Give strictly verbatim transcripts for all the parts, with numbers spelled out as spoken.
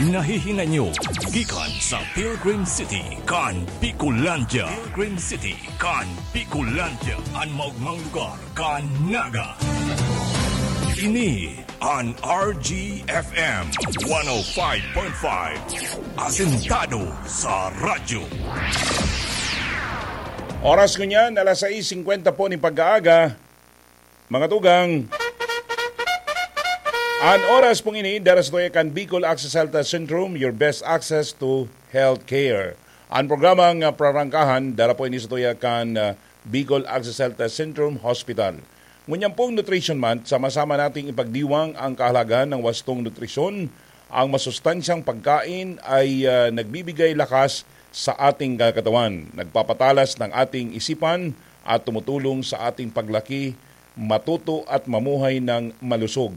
Nahihinay nyo gikan sa Pilgrim City kan Bicolandia. Pilgrim City kan Bicolandia, an maogmang lugar kan Naga. Ini an R G F M one oh five point five, asentado sa radyo. Oras ngunyan, alas sais singkwenta po nin pag-aaga. Mga tugang, an oras pong ini, dara sa tuya kan Bicol Access Health Centrum, your best access to healthcare. An programang, ah, prarangkahan, dara po ini sa tuya kan, ah, Bicol Access Health Centrum Hospital. Ngunyan pong Nutrition Month, sama-sama nating ipagdiwang ang kahalagahan ng wastong nutrisyon. Ang masustansyang pagkain ay, ah, nagbibigay lakas sa ating katawan, nagpapatalas ng ating isipan at tumutulong sa ating paglaki, matuto at mamuhay ng malusog.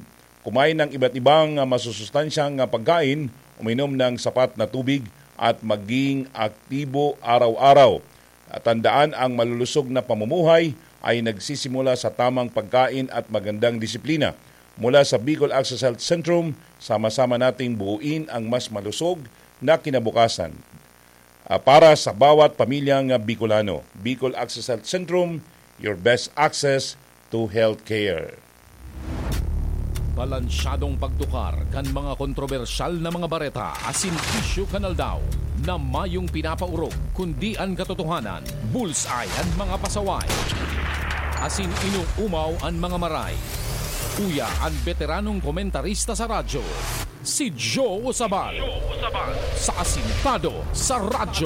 Kumain ng iba't ibang, ah, masusustansyang, ah, pagkain, uminom ng sapat na tubig at maging aktibo araw-araw. At tandaan, ang malulusog na pamumuhay ay nagsisimula sa tamang pagkain at magandang disiplina. Mula sa Bicol Access Health Centrum, sama-sama nating buuin ang mas malusog na kinabukasan, ah, para sa bawat pamilyang, ah, Bicolano. Bicol Access Health Centrum, your best access to healthcare. Balansyadong pagtukar kan mga kontrobersyal na mga bareta asin isyu kan aldaw, na mayong pinapaorog, kundi an katotohanan. Bullseye an mga pasaway, asin inuumaw an mga maray. Uya an beteranong komentarista sa radyo, si Joe Usabal, sa Asintado sa Radyo.